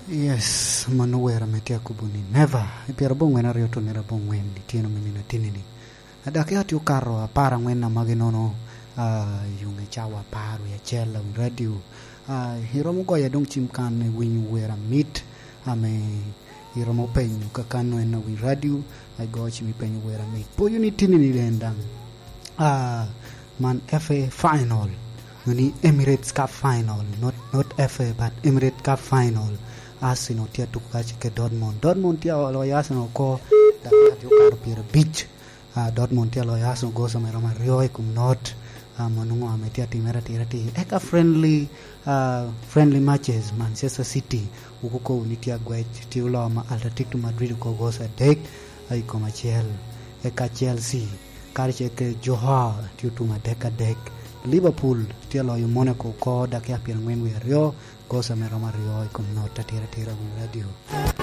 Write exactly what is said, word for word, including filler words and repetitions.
Yes, mano wer ame tye akobo ni Never. I pyerabongwen aryo otonnere abongwen ityeno me nino atinni-ni. Dak ya tye okato apar angwen amagi nono, ah, i ŋe cawa apar wie acel awiny radio. Ah, iromo goyo adong cim kan iwinyo wer amit ame iromo penyo ka kan en awiny radio, ah, igoyo cim ipenyo wer amit. Poyo ni tinni-ni den daŋ. Ah, man F A final, ni Emirates Cup final, not, not F A, but Emirates Cup final. Arsenal tye atuko kace ke Dortmund. Dortmund tye aloyo Arsenal oko, dakika tye okato pyerabic. Ah, Dortmund tye aloyo Arsenal gosa me romo aryo i kom not. Ah, mano ŋo ame tye atimere atira atir. Eka friendly, ah, friendly matches, Manchester City, wukukobo ni tye agwec, tye oloyo ma Atletico Madrid oko gosa adek, ah, i kom acel. Eka Chelsea, karacel ke Johar, tye otum adek adek. Liverpool tye aloyo Monaco oko, dakika pyerangwen wie aryo, gosa me romo aryo i kom not atira atira winy radio.